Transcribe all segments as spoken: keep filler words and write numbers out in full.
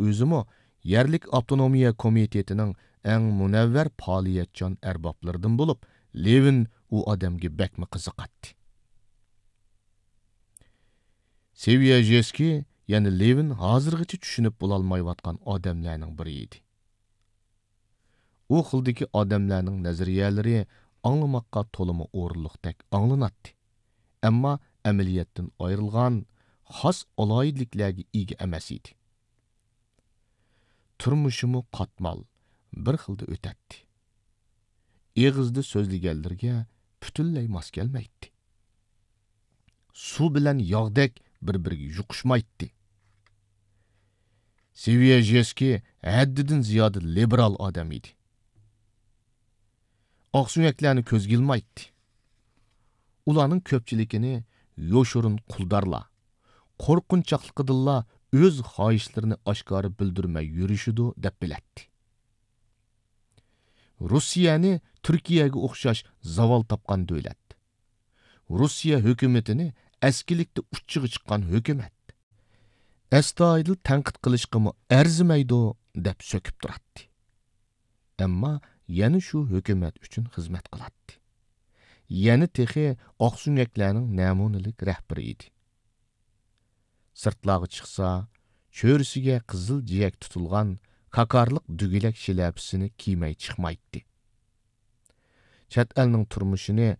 ئۆزىمۇ يەرلىك ئاپتونومىيە كومىتېتىنىڭ ئەڭ مۇنەۋۋەر پائالىيەتچان ئەربابلىرىدىن بولۇپ، لېۋىن ئۇ ئادەمگە بەكمۇ قىزىقاتتى. سېۋيەژېسكىي يەنە لېۋىن ھازىرغىچە چۈشىنىپ بولالمايۋاتقان ئادەملەرنىڭ بىرى ئىدى. ئۇ خىلدىكى ئادەملەرنىڭ نەزەرىيەلىرى ئاڭلىماققا تولىمۇ ئورۇنلۇقتەك ئاڭلىناتتى، ئەمما ئەمەلىيەتتىن ئايرىلغان، خاس ئالاھىدىلىكلەرگە ئىگە ئەمەس ئىدى. تۇرمۇشىمۇ قاتمال، بىر خىلدا ئۆتەتتى. ئېغىزدا سۆزلىگەنلىرىگە پۈتۈنلەي ماس كەلمەيتتى. سۇ بىلەن ياغدەك بىر-بىرىگە يۇقۇشمايتتى. سېۋيەژېسكىي ھەددىدىن زىيادە لىبېرال ئادەم ئىدى. ئاقسۆڭەكلەرنى كۆزگە ئىلمايتتى. ئۇلارنىڭ كۆپچىلىكىنى يوشۇرۇن قۇلدارلار، قورقۇنچاقلىقىدىنلا ئۆز خاھىشلىرىنى ئاشكارا بىلدۈرمەي يۈرۈشىدۇ دەپ بىلەتتى. روسىيەنى تۈركىيەگە ئوخشاش زاۋال تاپقان دۆلەت، روسىيە ھۆكۈمىتىنى ئەسكىلىكتە ئۇچىغا چىققان ھۆكۈمەت، ئەستايىدىل تەنقىد قىلىشقىمۇ ئەرزىمەيدۇ دەپ سۆكۈپ تۇراتتى. ئەمما يەنە شۇ ھۆكۈمەت ئۈچۈن خىزمەت قىلاتتى. يەنە تېخى ئاقسۆڭەكلەرنىڭ نەمۇنىلىك رەھبىرى ئىدى. سىرتلارغا چىقسا، چۆرىسىگە قىزىل جىيەك تۇتۇلغان كاكارلىق دۈگىلەك شىلەپىسىنى كىيمەي چىقمايتتى. چەت ئەلنىڭ تۇرمۇشىنى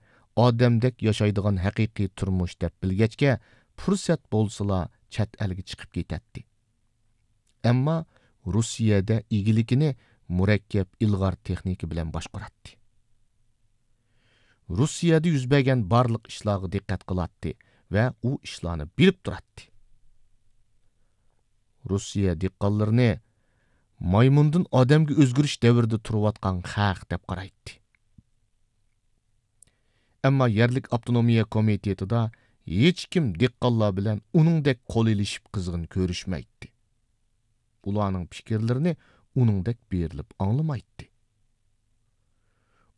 ئادەمدەك ياشايدىغان ھەقىقىي تۇرمۇش دەپ بىلگەچكە، پۇرسەت بولسىلا چەت ئەلگە چىقىپ كېتەتتى. ئەمما روسىيەدە ئىگىلىكىنى مۇرەككەپ ئىلغار تېخنىكا بىلەن باشقۇراتتى. روسىيەدە يۈز بەرگەن بارلىق ئىشلارغا دىققەت قىلاتتى ۋە ئۇ ئىشلارنى بىلىپ تۇراتتى. روسىيە دېھقانلىرىنى مايمۇندىن ئادەمگە ئۆزگىرىش دەۋرىدە تۇرۇۋاتقان خەق دەپ قارايتتى. ئەمما يەرلىك ئاپتونومىيە كومىتېتىدا ھېچكىم دېھقانلار بىلەن ئۇنىڭدەك قول ئېلىشىپ قىزغىن كۆرۈشمەيتتى. ئۇلارنىڭ پىكىرلىرىنى ئۇنىڭدەك بېرىلىپ ئاڭلىمايتتى.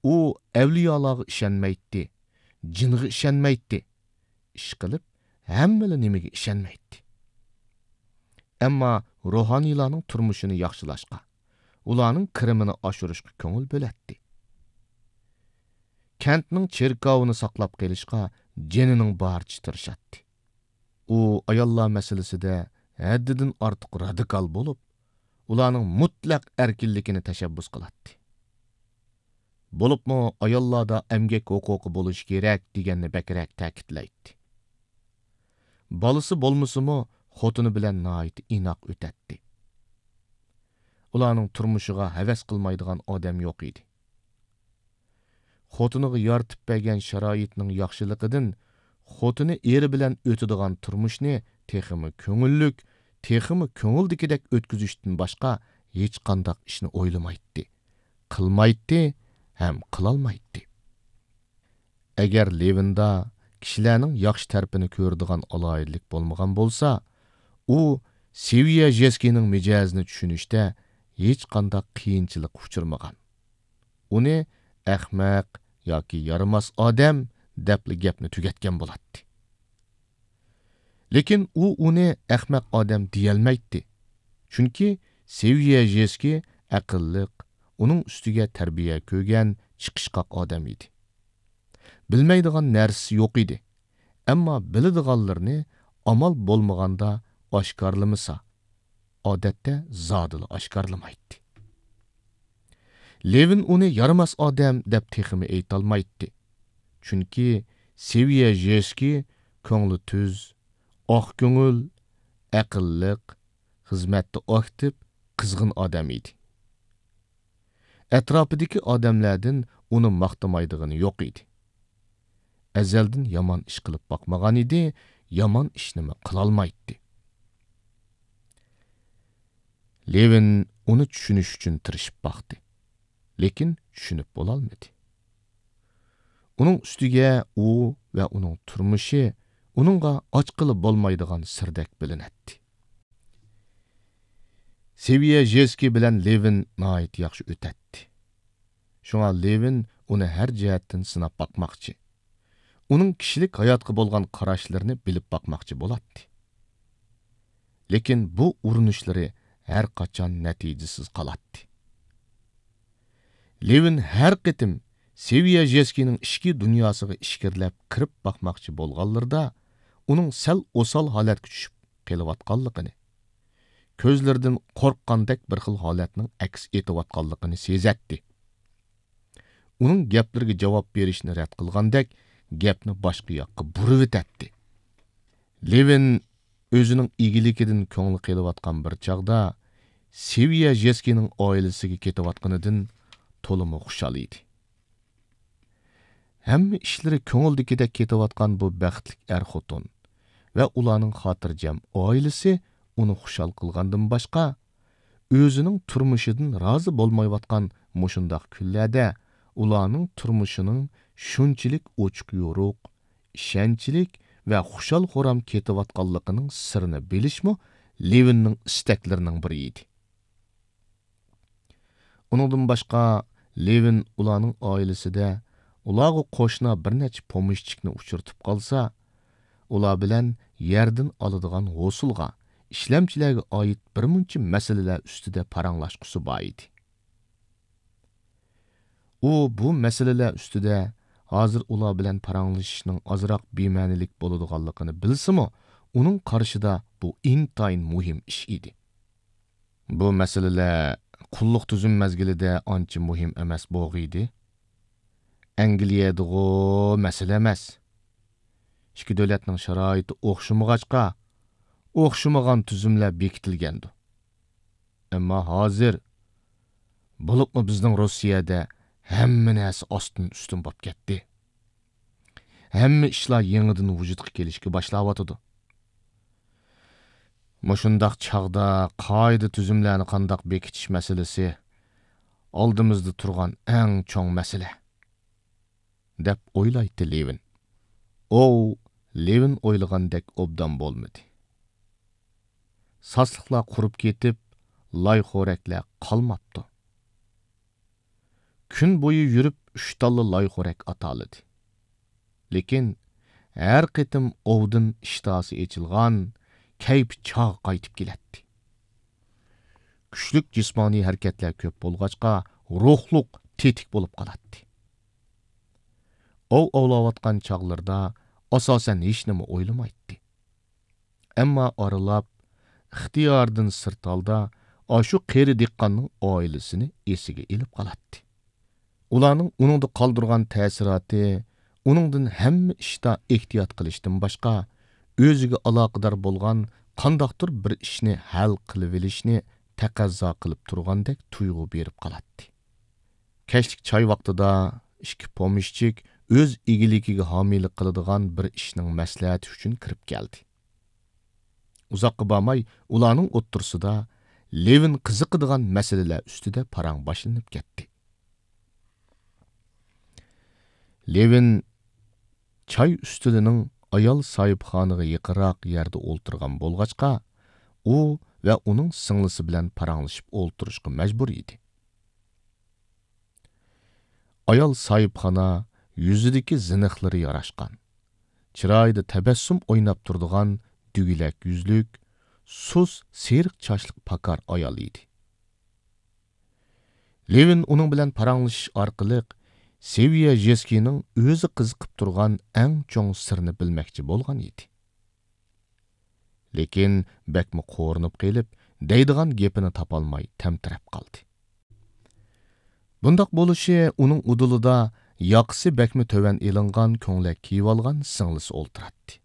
ئۇ ئەۋلىيالارغا ئىشەنمەيتتى، جىنغا ئىشەنمەيتتى. ئىشقىلىپ، ھەممىلا نېمىگە ئىشەنمەيتتى. ئەمما روھانىيلارنىڭ تۇرمۇشىنى ياخشىلاشقا، ئۇلارنىڭ كىرىمىنى ئاشۇرۇشقا كۆڭۈل بۆلەتتى. كەنتنىڭ چېركاۋىنى ساقلاپ قېلىشقا جېنىنىڭ بارىچە تىرىشاتتى. ئۇ ئاياللار مەسىلىسىدە ھەددىدىن ئارتۇق رادىكال بولۇپ، ئۇلارنىڭ مۇتلەق ئەركىنلىكىنى تەشەببۇس قىلاتتى. بولۇپمۇ ئاياللاردا ئەمگەك ھوقۇقى بولۇشى كېرەك دېگەننى بەكرەك تەكىتلەيتتى. بالىسى بولمىسىمۇ، خوتۇنى بىلەن ناھايىتى ئىناق ئۆتەتتى. ئۇلارنىڭ تۇرمۇشىغا ھەۋەس قىلمايدىغان ئادەم يوق ئىدى. خوتۇنىغا يارىتىپ بەرگەن شارائىتنىڭ ياخشىلىقىدىن خوتۇنى ئېرى بىلەن ئۆتىدىغان تۇرمۇشنى تېخىمۇ كۆڭۈللۈك، تېخىمۇ كۆڭۈلدىكىدەك ئۆتكۈزۈشتىن باشقا ھېچقانداق ئىشنى ئويلىمايتتى، قىلمايتتى ھەم قىلالمايتتى. ئەگەر لېۋىندا كىشىلەرنىڭ ياخشى تەرىپىنى كۆرىدىغان ئالاھىدىلىك بولمىغان بولسا، ئۇ سېۋيەژېسكىينىڭ مىجەزىنى چۈشىنىشتە ھېچقانداق قىيىنچىلىققا ئۇچرىمىغان. ئۇنى ئەخمەق ياكى يارىماس ئادەم دەپلا گەپنى تۈگەتكەن بولاتتى. لېكىن ئۇ ئۇنى ئەخمەق ئادەم دېيەلمەيتتى. چۈنكى سېۋيەژېسكىي ئەقىللىق، ئۇنىڭ ئۈستىگە تەربىيە كۆرگەن، چىقىشقاق ئادەم ئىدى. بىلمەيدىغان نەرسىسى يوق ئىدى. ئەمما بىلىدىغانلىرىنى ئامال بولمىغاندا ئاشكارىلىمىسا، ئادەتتە زادىلا ئاشكارىلىمايتتى. لېۋىن ئۇنى يارىماس ئادەم دەپ تېخىمۇ ئېيتالمايتتى. چۈنكى سېۋيەژېسكىي كۆڭلى تۈز، ئاق كۆڭۈل، ئەقىللىق، خىزمەتتە ئاكتىپ، قىزغىن ئادەم ئىدى. ئەتراپىدىكى ئادەملەردىن ئۇنى ماختىمايدىغىنى يوق ئىدى. ئەزەلدىن يامان ئىش قىلىپ باقمىغان ئىدى، يامان ئىشنىمۇ قىلالمايتتى. لېۋىن ئۇنى چۈشىنىش ئۈچۈن تىرىشىپ باقتى. لېكىن چۈشىنىپ بولالمىدى. ئۇنىڭ ئۈستىگە ئۇ ۋە ئۇنىڭ تۇرمۇشى ئۇنىڭغا ئاچقىلى بولمايدىغان سىردەك بىلىنەتتى. سېۋيەژېسكىي بىلەن لېۋىن ناھايىتى ياخشى ئۆتەتتى. شۇڭا لېۋىن ئۇنى ھەر جەھەتتىن سىناپ باقماقچى، ئۇنىڭ كىشىلىك ھاياتقا بولغان قاراشلىرىنى بىلىپ باقماقچى بولاتتى. لېكىن بۇ ئۇرۇنۇشلىرى ھەر قاچان نەتىجىسىز قالاتتى. لېۋىن ھەر قېتىم سېۋيەژېسكىنىڭ ئىچكى دۇنياسىغا ئىچكىرىلەپ كىرىپ باقماقچى بولغانلىرىدا، ئۇنىڭ سەل ئوسال ھالەتكە چۈشۈپ قېلىۋاتقانلىقىنى، كۆزلىرىدىن قورققاندەك بىر خىل ھالەتنىڭ ئەكس ئېتىۋاتقانلىقىنى سېزەتتى. ئۇنىڭ گەپلىرىگە جاۋاب بېرىشنى رەت قىلغاندەك، گەپنى باشقا ياققا بۇرۇۋېتەتتى. لېۋىن ئۆزىنىڭ ئىگىلىكىدىن كۆڭلى قېلىۋاتقان بىر چاغدا سېۋيەژېسكىنىڭ ئائىلىسىگە كېتىۋاتقىنىدىن تولىمۇ خۇشال ئىدى. ھەممە ئىشلىرى كۆڭۈلدىكىدەك كېتىۋاتقان بۇ بەختلىك ئەر-خوتۇن ۋە ئۇلارنىڭ خاتىرجەم ئائىلىسى ئۇنى خۇشال قىلغاندىن باشقا، ئۆزىنىڭ تۇرمۇشىدىن رازى بولمايۋاتقان مۇشۇنداق كۈنلەردە ئۇلارنىڭ تۇرمۇشىنىڭ شۇنچىلىك ئوچۇق-يورۇق، ئىشەنچلىك ۋە خۇشال-خۇرام كېتىۋاتقانلىقىنىڭ سىرىنى بىلىشمۇ لېۋىننىڭ ئىستەكلىرىنىڭ بىرى ئىدى. ئۇنىڭدىن باشقا، لېۋىن ئۇلارنىڭ ئائىلىسىدە ئۇلارغا قوشنا بىر نەچچە پومېشچىكنى ئۇچرىتىپ قالسا، ئۇلار بىلەن يەردىن ئالىدىغان ھوسۇلغا، ئىشلەمچىلەرگە ئائىت بىر مۇنچە مەسىلىلەر ئۈستىدە پاراڭلاشقۇسى بار ئىدى. ئۇ بۇ مەسىلىلەر ئۈستىدە ھازىر ئۇلار بىلەن پاراڭلىشىشنىڭ ئازراق بىمەنىلىك بولىدىغانلىقىنى بىلسىمۇ، ئۇنىڭ قارىشىدا بۇ ئىنتايىن مۇھىم ئىش ئىدى. بۇ مەسىلىلەر قۇللۇق تۈزۈم مەزگىلىدە ئانچە مۇھىم ئەمەس بولغىيدى. ئەنگلىيەدىغۇ مەسىلە ئەمەس. ئىككى دۆلەتنىڭ شارائىتى ئوخشىمىغاچقا، ئوخشىمىغان تۈزۈملەر بېكىتىلگەندۇ. ئەمما ھازىر، بولۇپمۇ بىزنىڭ روسىيەدە ھەممە نەرسە ئاستىن ئۈستۈن بولۇپ كەتتى. ھەممە ئىشلار يېڭىدىن ۋۇجۇدقا كېلىشكە باشلاۋاتىدۇ. مۇشۇنداق چاغدا قائىدە-تۈزۈملەرنى قانداق بېكىتىش مەسىلىسى ئالدىمىزدا تۇرغان ئەڭ چوڭ مەسىلە، دەپ ئويلايتتى لېۋىن. ئوۋ، لېۋىن ئويلىغاندەك ئوبدان بولمىدى. ساسلىقلار قۇرۇپ كېتىپ، لايخورەكلەر قالماپتۇ. كۈن بويى يۈرۈپ ئۈچ تاللا لايخورەك ئاتالىدى. لېكىن ھەر قېتىم ئوۋدىن ئىشتىھاسى ئېچىلغان، كەيپى چاغ قايتىپ كېلەتتى. كۈچلۈك جىسمانىي ھەرىكەتلەر كۆپ بولغاچقا، روھلۇق تېتىك بولۇپ قالاتتى. ئوۋ ئوۋلاۋاتقان چاغلىرىدا ئاساسەن ھېچنېمە ئويلىمايتتى. ئەمما ئارىلاپ، ئىختىيارىدىن سىرت ھالدا ئاشۇ قېرى دېھقاننىڭ ئائىلىسىنى ئېسىگە ئېلىپ قالاتتى. ئۇلارنىڭ ئۇنىڭدا قالدۇرغان تەسىراتى ئۇنىڭدىن ھەممە ئىشتا ئېھتىيات قىلىشتىن باشقا، ئۆزىگە ئالاقىدار بولغان قانداقتۇر بىر ئىشنى ھەل قىلىۋېلىشنى تەقەززا قىلىپ تۇرغاندەك تۇيغۇ بېرىپ قالاتتى. كەچلىك چاي ۋاقتىدا ئىككى پومېشچىك ئۆز ئىگىلىكىگە ھامىيلىق قىلىدىغان بىر ئىشنىڭ مەسلىھەتى ئۈچۈن كىرىپ كەلدى. ئۇزاققا بارماي ئۇلارنىڭ ئوتتۇرىسىدا لېۋىن قىزىقىدىغان مەسىلىلەر ئۈستىدە پاراڭ باشلىنىپ كەتتى. لېۋىن چاي ئۈستىلىنىڭ ئايال ساھىبخانىغا يېقىنراق يەردە ئولتۇرغان بولغاچقا، ئۇ ۋە ئۇنىڭ سىڭلىسى بىلەن پاراڭلىشىپ ئولتۇرۇشقا مەجبۇر ئىدى. ئايال ساھىبخانا يۈزىدىكى زىنىخلىرى ياراشقان، چىرايىدا تەبەسسۇم ئويناپ تۇرىدىغان دۈگىلەك يۈزلۈك، سۇس سېرىق چاچلىق پاكار ئايال ئىدى. لېۋىن ئۇنىڭ بىلەن پاراڭلىشىش ئارقىلىق سېۋيەژېسكىنىڭ ئۆزى قىزىقىپ تۇرغان ئەڭ چوڭ سىرنى بىلمەكچى بولغان ئىدى. لېكىن بەكمۇ قورۇنۇپ قېلىپ، دەيدىغان گېپىنى تاپالماي تەمتىرەپ قالدى. بۇنداق بولۇشى ئۇنىڭ ئۇدۇلىدا ياقىسى بەكمۇ تۆۋەن ئېلىنغان كۆڭلەك كىيىۋالغان سىڭلىسى ئولتۇراتتى.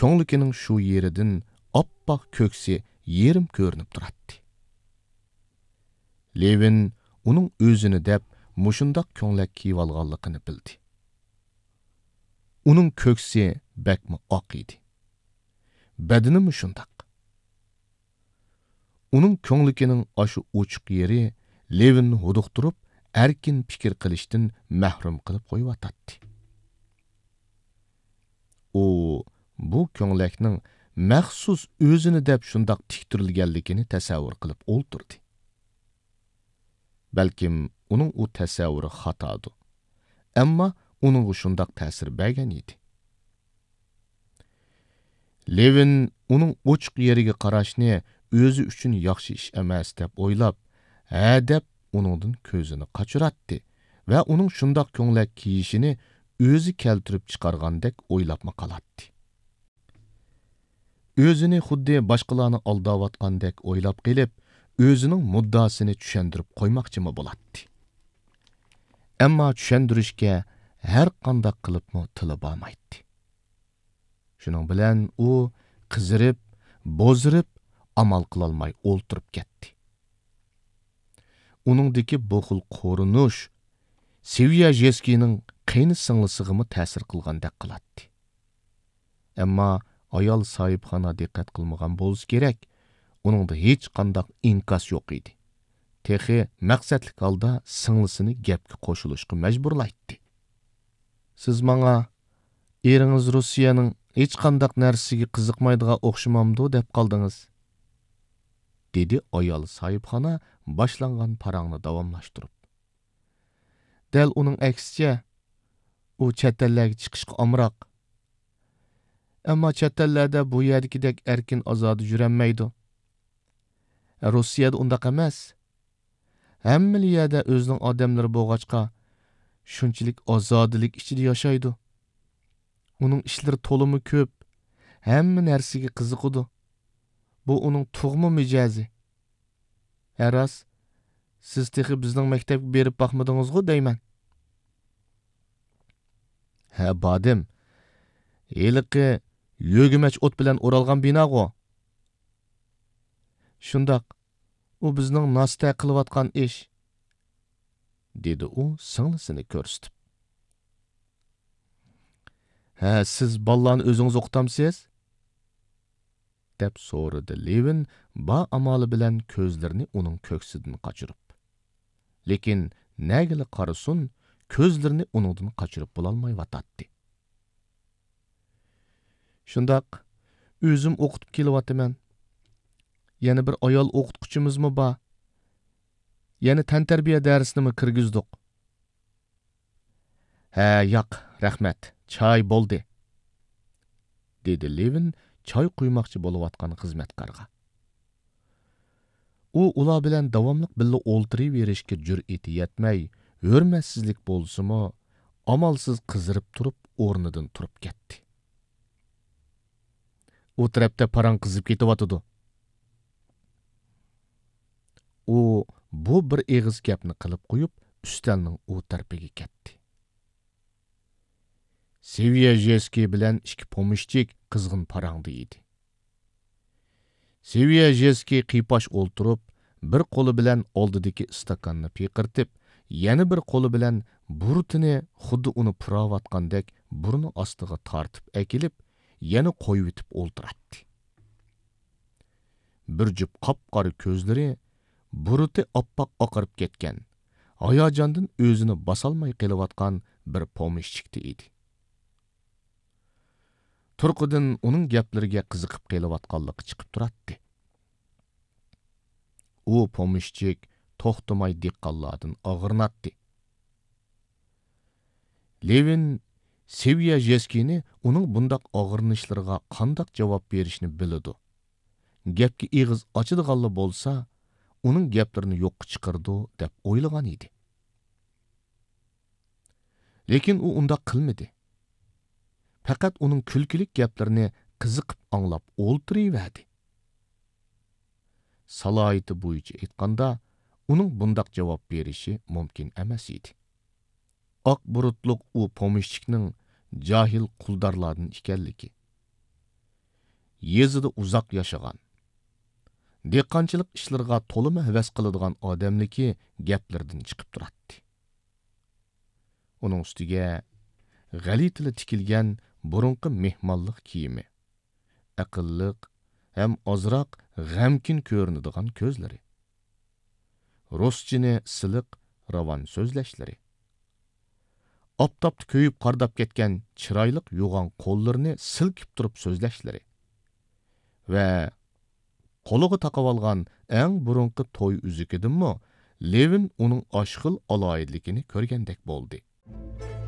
كۆڭلىكىنىڭ شۇ يېرىدىن ئاپئاق كۆكسى يېرىم كۆرۈنۈپ تۇراتتى. لېۋىن ئۇنىڭ ئۆزىنى دەپ مۇشۇنداق كۆڭلەك كىيىۋالغانلىقىنى بىلدى. ئۇنىڭ كۆكسى بەكمۇ ئاق ئىدى. بەدىنىمۇ شۇنداق. ئۇنىڭ كۆڭلىكىنىڭ ئاشۇ ئوچۇق يېرى لېۋىننى ھودۇقتۇرۇپ، ئەركىن پىكىر قىلىشتىن مەھرۇم قىلىپ قويۇۋاتاتتى. ئۇ بۇ كۆڭلەكنىڭ مەخسۇس ئۆزىنى دەپ شۇنداق تىكتۈرۈلگەنلىكىنى تەسەۋۋۇر قىلىپ ئولتۇردى. بەلكىم ئۇنىڭ ئۇ تەسەۋۋۇرى خاتادۇ. ئەمما ئۇنىڭغا شۇنداق تەسىر بەرگەن ئىدى. لېۋىن ئۇنىڭ ئوچۇق يېرىگە قاراشنى ئۆزى ئۈچۈن ياخشى ئىش ئەمەس دەپ ئويلاپ، ھە دەپ ئۇنىڭدىن كۆزىنى قاچۇراتتى ۋە ئۇنىڭ شۇنداق كۆڭلەك كېيىشىنى ئۆزى كەلتۈرۈپ چىقارغاندەك ئويلاپمۇ قالاتتى. ئۆزىنى خۇددى باشقىلارنى ئالداۋاتقاندەك ئويلاپ قېلىپ، ئۆزىنىڭ مۇددىئاسىنى چۈشەندۈرۈپ قويماقچىمۇ بولاتتى. ئەمما چۈشەندۈرۈشكە ھەر قانداق قىلىپمۇ تىلى بارمايتتى. شۇنىڭ بىلەن ئۇ قىزىرىپ، بوزىرىپ، ئامال قىلالماي ئولتۇرۇپ كەتتى. ئۇنىڭدىكى بۇ خىل قورۇنۇش سېۋياژېسكىينىڭ قېينى سىڭلىسىغىمۇ تەسىر قىلغاندەك قىلاتتى. ئەمما ئايال ساھىبخانا دىققەت قىلمىغان بولسا كېرەك، ئۇنىڭدا ھېچقانداق ئىنكاس يوق ئىدى. تېخى مەقسەتلىك ھالدا سىڭلىسىنى گەپكە قوشۇلۇشقا مەجبۇرلايتتى. «سىز ماڭا، ئېرىڭىز روسىيەنىڭ ھېچقانداق نەرسىسىگە قىزىقمايدىغان ئوخشىمامدۇ دەپ قالدىڭىز؟» دېدى ئايال ساھىبخانا باشلانغان پاراڭنى داۋاملاشتۇرۇپ. «دەل ئۇنىڭ ئەكسىچە، ئۇ چەت ئەللەرگە چىقىشقا ئامراق. ئەمما چەت ئەللەردە بۇ يەردىكىدەك ئەركىن ئازادە يۈرەلمەيدۇ. روسىيەدە ئۇنداق ئەمەس. ھەممىلا يەردە ئۆزىنىڭ ئادەملىرى بولغاچقا، شۇنچىلىك ئازادىلىك ئىچىدە ياشايدۇ. ئۇنىڭ ئىشلىرى تولىمۇ كۆپ، ھەممە نەرسىگە قىزىقىدۇ. بۇ ئۇنىڭ تۇغما مىجەزى. ھە راست، سىز تېخى بىزنىڭ مەكتەپكە بېرىپ باقمىدىڭىزغۇ دەيمەن.» «ھە، باردىم. ھېلىقى يۆگىمەچ ئوت بىلەن ئورالغان بىناغۇ؟» «شۇنداق، ئۇ بىزنىڭ ناستە قىلىۋاتقان ئىش.» دېدى ئۇ سىڭلىسىنى كۆرسىتىپ. «ھە، سىز بالىلارنى ئۆزىڭىز ئوقۇتامسىز؟» دەپ سورىدى لېۋىن بار ئامالى بىلەن كۆزلىرىنى ئۇنىڭ كۆكسىدىن قاچۇرۇپ. لېكىن نەگىلا قارىسۇن، كۆزلىرىنى ئۇنىڭدىن قاچۇرۇپ بولالمايۋاتاتتى. «شۇنداق، ئۆزۈم ئوقۇتۇپ كېلىۋاتىمەن. يەنە بىر ئايال ئوقۇتقۇچىمىزمۇ بار. يەنە تەنتەربىيە دەرسىنىمۇ كىرگۈزدۇق.» «ھە، ياق، رەھمەت، چاي بولدى.» دېدى لېۋىن چاي قۇيماقچى بولۇۋاتقان خىزمەتكارغا. ئۇ ئۇلار بىلەن داۋاملىق بىللە ئولتۇرۇۋېرىشكە جۈرئىتى يەتمەي، ھۆرمەتسىزلىك بولسىمۇ، ئامالسىز قىزىرىپ تۇرۇپ ئورنىدىن تۇرۇپ كەتتى. «ئۇ تەرەپتە پاراڭ قىزىپ كېتىۋاتىدۇ.» ئۇ بۇ بىر ئېغىز گەپنى قىلىپ قويۇپ، ئۈستەلنىڭ ئۇ تەرىپىگە كەتتى. سېۋيەژېسكىي بىلەن ئىككى پومېشچىك قىزغىن پاراڭدا ئىدى. سېۋيەژېسكىي قىيپاش ئولتۇرۇپ، بىر قولى بىلەن ئالدىدىكى ئىستاكاننى پىقىرتىپ، يەنە بىر قولى بىلەن بۇرۇتىنى خۇددى ئۇنى پۇراۋاتقاندەك بۇرنى ئاستىغا تارتىپ ئەكېلىپ، يەنە قويۇۋېتىپ ئولتۇراتتى. بىر جۈپ قاپقارا كۆزلىرى بۇرۇتى ئاپئاق ئاقىرىپ كەتكەن، ھاياجاندىن ئۆزىنى باسالماي قېلىۋاتقان بىر پومېشچىكتا ئىدى. تۇرقىدىن ئۇنىڭ گەپلىرىگە قىزىقىپ قېلىۋاتقانلىقى چىقىپ تۇراتتى. ئۇ پومېشچىك توختىماي دېھقانلاردىن ئاغرىناتتى. لېۋىن سېۋيەژېسكىينى ئۇنىڭ بۇنداق ئاغرىنىشلىرىغا قانداق جاۋاب بېرىشنى بىلىدۇ. گەپكە ئېغىز ئاچىدىغانلا بولسا، ئۇنىڭ گەپلىرىنى يوققا چىقىرىدۇ، دەپ ئويلىغان ئىدى. لېكىن ئۇ ئۇنداق قىلمىدى. پەقەت ئۇنىڭ كۈلكىلىك گەپلىرىنى قىزىقىپ ئاڭلاپ ئولتۇرۇۋەردى. سالاھىيىتى بويىچە ئېيتقاندا، ئۇنىڭ بۇنداق جاۋاب بېرىشى مۇمكىن ئەمەس ئىدى. ئاق بۇرۇتلۇق ئۇ پومېشچىكنىڭ جاھىل قۇلدارلاردىن ئىكەنلىكى، يېزىدا ئۇزاق ياشىغان، دېھقانچىلىق ئىشلىرىغا تولىمۇ ھەۋەس قىلىدىغان ئادەملىكى گەپلىرىدىن چىقىپ تۇراتتى. ئۇنىڭ ئۈستىگە غەلىتىلا تىكىلگەن بۇرۇنقى مېھمانلىق كىيىمى، ئەقىللىق ھەم ئازراق غەمكىن كۆرۈنىدىغان كۆزلىرى، رۇسچىنى سىلىق، راۋان سۆزلەشلىرى، ئاپتاپتا كۆيۈپ قارىداپ كەتكەن چىرايلىق يوغان قوللىرىنى سىلكىپ تۇرۇپ سۆزلەشلىرى ۋە قولىغا تاقىۋالغان ئەڭ بۇرۇنقى توي ئۈزۈكىدىنمۇ لېۋىن ئۇنىڭ ئاشۇ خىل ئالاھىدىلىكىنى كۆرگەندەك بولدى.